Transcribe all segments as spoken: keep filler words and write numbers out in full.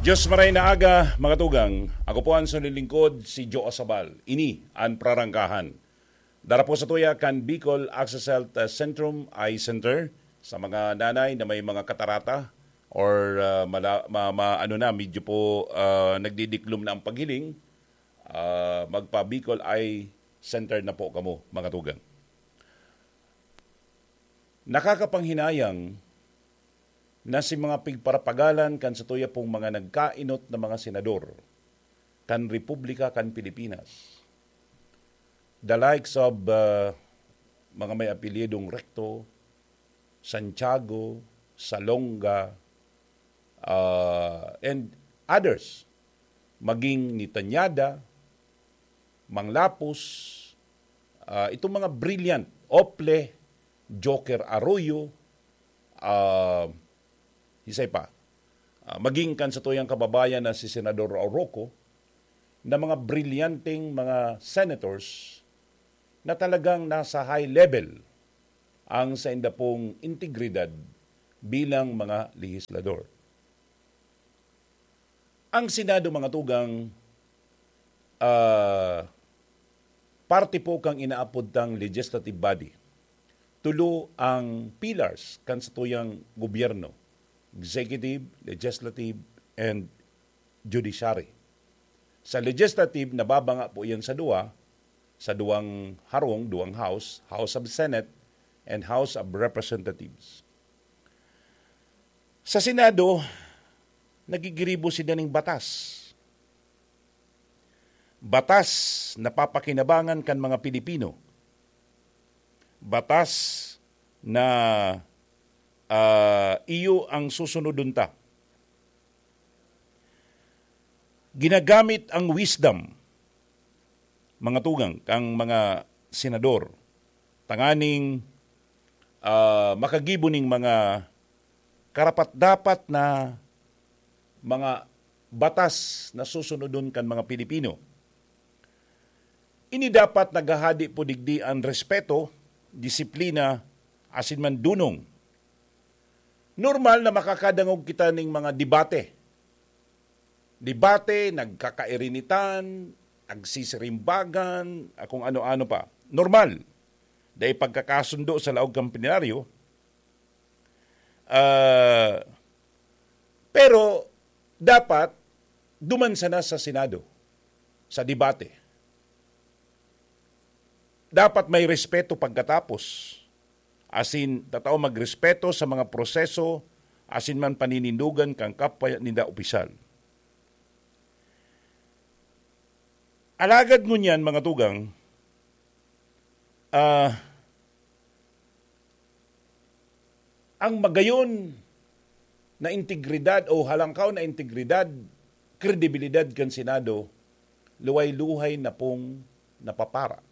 Diyos maray na aga, mga tugang. Ako po ang sulilingkod, si Joe Asabal. Ini an prarangkahan. Dara po sa tuya kan Bicol Access Health, uh, Centrum Eye Center. Sa mga nanay na may mga katarata or, uh, mala- ma- ma- ano na, medyo po, uh, nagdidiklom na ang paghiling, uh, magpa Bicol Eye Center na po kamo, mga tugang. Nakakapanghinayang na si mga pigparapagalan kan satuya pong mga nagkainot na mga senador kan Republika kan Pilipinas, the likes of, uh, mga may apelyidong Recto, Santiago, Salonga, uh, and others, maging ni Tañada, Manglapos, ah, itong mga brilliant, Ople, Joker Arroyo, ah, hisay pa, ah, maging kan satuyang kababayan na si Senador Roco, na mga brilyanteng mga senators na talagang nasa high level ang sainda pong integridad bilang mga lehislador. Ang Senado, mga tugang, ah, parte po kang inaapod tang legislative body. Tulo ang pillars kan satuyang gobyerno, executive, legislative, and judiciary. Sa legislative, nababanga po yan sa duwa, sa duwang harong, duwang house, House of Senate and House of Representatives. Sa Senado, nagigiribo sila ning batas. Batas na papakinabangan kan mga Pilipino. Batas na, ah, iyo ang susunodon ta. Ginagamit ang wisdom, mga tugang, kang mga senador, tanganing, ah, makagibo ning mga karapat-dapat na mga batas na susunodon kan mga Pilipino. Ini dapat naghahadi po digdi an respeto, disiplina, asin man dunong. Normal na makakadangog kita ning mga debate. Debate, nagkakairinitan, nagsisirimbagan, ah, kung ano-ano pa. Normal. Dai pagkakasundo sa laog kan plenaryo. Ah, pero dapat duman sana sa Senado, sa debate. Dapat may respeto pagkatapos. Asin, tatao magrespeto sa mga proseso, asin man paninindogan kan kapwa ninda opisyal. Alagad ngunyan, mga tugang, ah, ang magayon na integridad o halangkaw na integridad, kredibilidad kan Senado, luhay-luhay na pong napapara.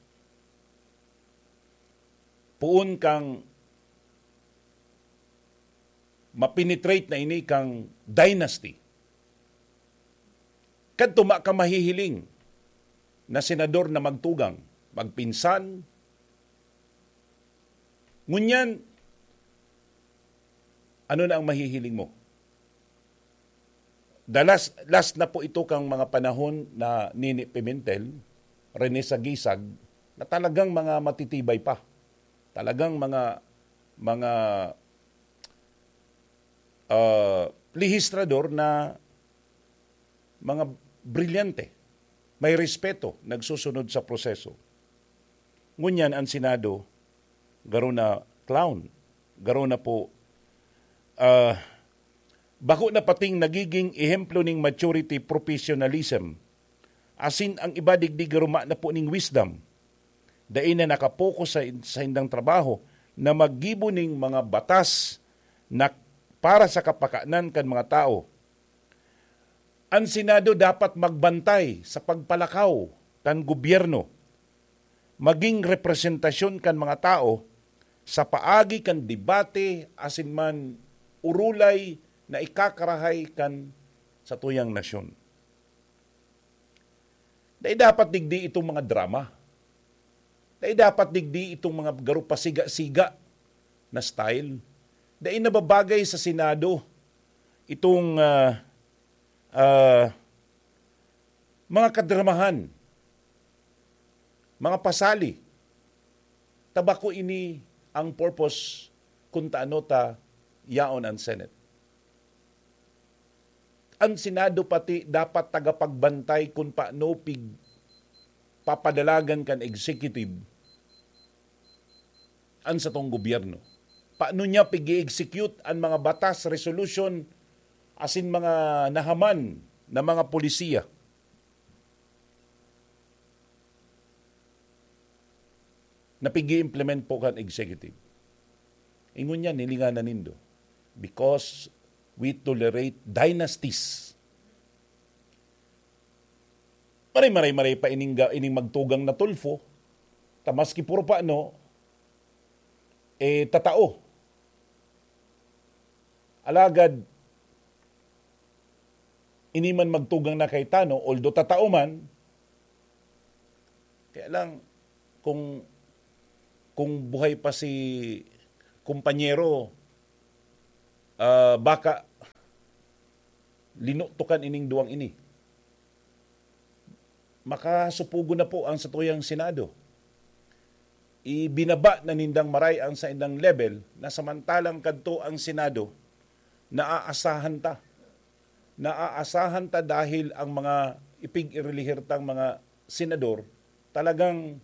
Poon kang mapenetrate na ini kang dynasty. Kadto ma ka mahihiling na senador na magtugang, magpinsan. Ngunyan, ano na ang mahihiling mo? The last, last na po ito kang mga panahon na Nini Pimentel, Rene Sagisag, na talagang mga matitibay pa. Talagang mga, mga, ah, lehistrador na mga brilyante, may respeto, nagsusunod sa proseso. Ngunyan ang Senado, garo na clown, garo na po, ah, bako na pating nagiging ehemplo ning maturity, professionalism. Asin ang iba digdi garo ma na po ning wisdom. Dai na nakapokus sa, sa indang trabaho na maggibo ning mga batas na para sa kapakanan kan mga tao. An Senado dapat magbantay sa pagpalakaw kan gobyerno, maging representasyon kan mga tao sa paagi kan debate asin man urulay na ikakarahay kan satuyang nasyon. Dai dapat digdi itong mga drama. Dai dapat digdi itong mga garo pasiga-siga na style. Dai nababagay sa Senado itong, ah, ah, mga kadramahan, mga pasali. Ta bako ini ang purpose kun taano ta yaon an Senate. An Senado pati dapat tagapagbantay kun paano pig-, papadalagan kan executive an satong gobyerno. Paano niya pig-i-execute an mga batas, resolution, asin mga nahaman na mga polisiya na pig-i-implement po kan executive? Ingon niya, nilinganan nindo. Because we tolerate dynasties. Maray-maray-maray pa ining ga-, ining magtugang na Tulfo, ta maski puro pa, no, eh, tatao. Alagad, ini man magtugang na Cayetano, although tatao man, kaya lang, kung, kung buhay pa si kumpanyero, ah, baka linutukan ining duwang ini. Makasupugon na po ang satuyang Senado. Ibinaba na nindang maray ang saindang level na samantalang kadto ang Senado, naaasahan ta. Naaasahan ta dahil ang mga ipig-irilihir tang mga senador talagang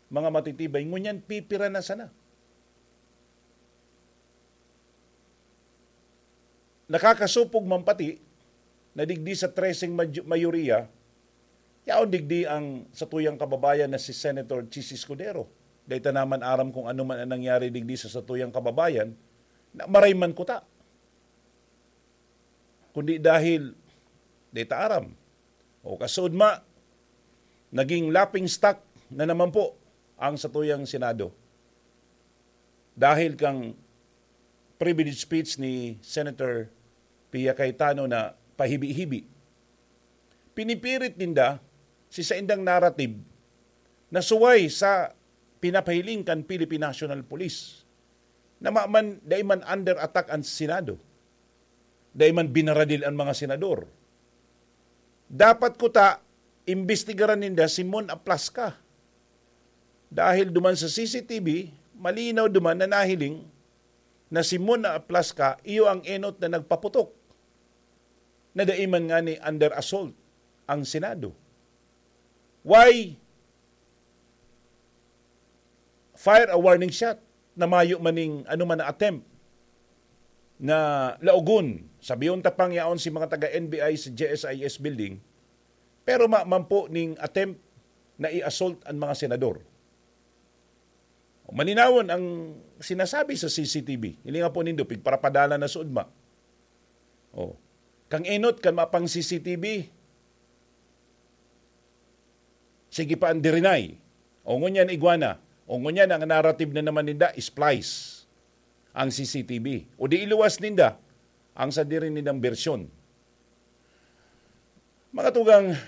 mga matitibay. Ngunyan, pipira na sana. Nakakasupog man pati na digdi sa treseng maj-, mayoriya, yaon digdi ang satuyang kababayan na si Senator Chiz Escudero. Dai ta naman aram kung ano man ang nangyari digdi sa satuyang kababayan, na maray man kuta. Kundi dahil dai ta aram. O kasood ma, naging laughing stock na naman po ang satuyang Senado. Dahil kang privilege speech ni Senator Pia Cayetano na pahibi-hibi, pinipirit ninda si saindang narrative na suway sa pinapahiling kan Philippine National Police, na ma-, man, dai man under attack ang Senado, dai man binaradil ang mga senador. Dapat kuta, imbestigaran ninda si Mon Aplaska. Dahil duman sa C C T V, malinaw duman na nahiling na si Mon Aplaska iyo ang enot na nagpaputok, na dai man ngani under assault ang Senado. Why fire a warning shot na mayo maning ano man na attempt na laogon? Sabihon ta pang yaon si mga taga N B I sa J S I S building, pero ma-, man po ning attempt na i-assault ang mga senador. Malinawon ang sinasabi sa C C T V. Hilinga po nindo, pigparapadala na sa ugma. Oh. Kang enot, kan mapang C C T V, sige pa ang dirinay. O ngunyan, igwa na. O ngunyan, ang narrative na naman ninda, splice ang C C T V. O di iluwas ninda ang sadiri nindang bersyon. Mga tugang,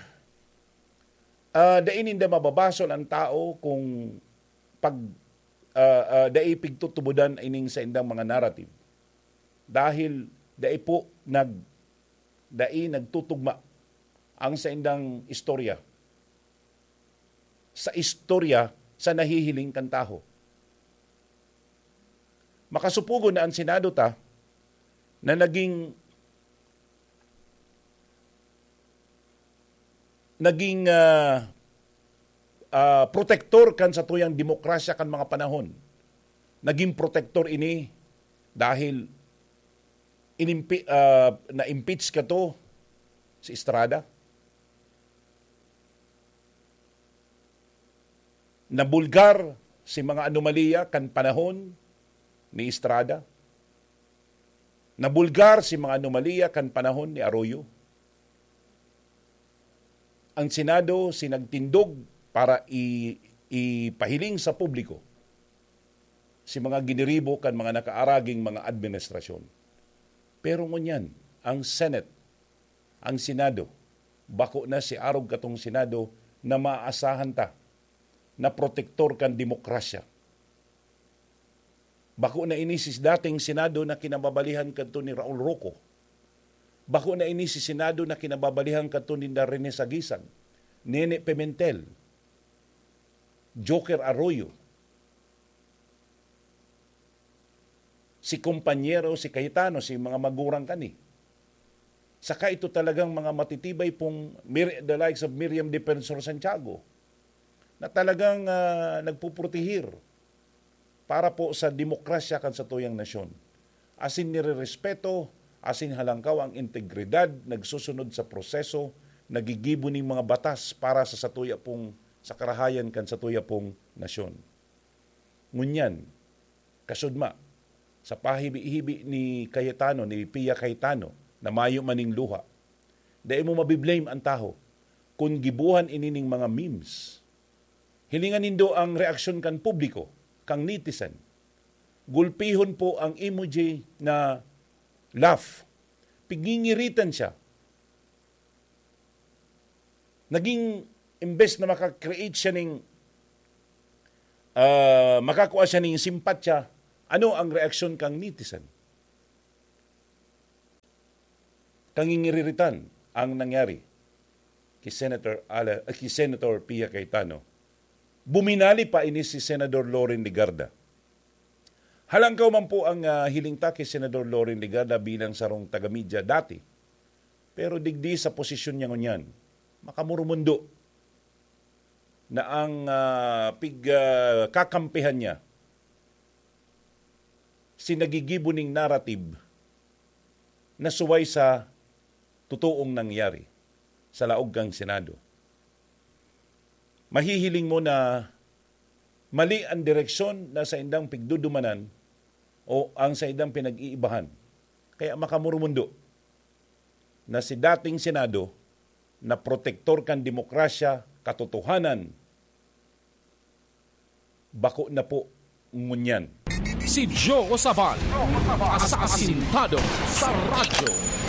ah, dai ninda mababasol ang tao kung pag, ah, ah, dai pigtutubodan ining saindang mga narrative. Dahil dai po nag-, dai nagtutugma ang saindang istorya sa istorya sa nahihiling kan tawo. Makasupugon na an Senado ta na naging, naging, ah, ah, protektor kan satuyang demokrasya kan mga panahon. Naging protektor ini dahil inimpi-, ah, na-impeach kato si Estrada. Nabulgar si mga anomalya kan panahon ni Estrada. Nabulgar si mga anomalya kan panahon ni Arroyo. Ang Senado si nagtindog para i-, ipahiling sa publiko si mga giniribo kan mga nakaaraging mga administrasyon. Pero ngunyan, ang Senate, ang Senado, bako na si arog katong Senado na maaasahan ta na protektor kan demokrasya. Bako na ini si dating Senado na kinababalihan kadto ni Raul Roco. Bako na ini si Senado na kinababalihan kadto ninda Rene Sagisag, Nene Pimentel, Joker Arroyo, si kompanyero, si Cayetano, si mga magurang kani. Saka ito talagang mga matitibay pong Mir-, the likes of Miriam Defensor Santiago na talagang, ah, nagpuprotehir para po sa demokrasya kan satuyang nasyon. Asin nirerespeto, asin halangkaw ang integridad, nagsusunod sa proseso, nagigibo ning mga batas para sa satuya pong, sa karahayan kan satuya pong nasyon. Ngunyan, kasudma, sa pahibi-hibi ni Cayetano, ni Pia Cayetano, na mayo maning luha, dai mo mabiblame ang taho kun gibuhan ini ning mga memes. Hilingan nindo ang reaksyon kan publiko, kang netizen. Gulpihon po ang emoji na laugh. Pigingiritan siya. Naging, imbes na maka-create siya ning, ah, makakua siya ning simpatya, ano ang reaksyon kang netizen? Kangingiriritan ang nangyari ki Senator Ale-, eh, ki Senator Pia Cayetano. Buminali pa ini si Senador Loren Legarda. Halangkaw man po ang, ah, hiling ta ki Senador Loren Legarda bilang sarong taga-media dati. Pero digdi sa posisyon niya ngunyan, makamurumundo na ang, ah, pig-, ah, kakampihan niya si nagigibo ning narrative na suway sa totoong nangyari sa laog kan Senado. Mahihiling mo na mali ang direksyon na saindang pigdudumanan o ang saindang pinag-iibahan. Kaya makamurumundo na si dating Senado na protektor kan demokrasya, katotohanan, bako na po ngunyan. Si Joe Sabal, asasintado sa radyo.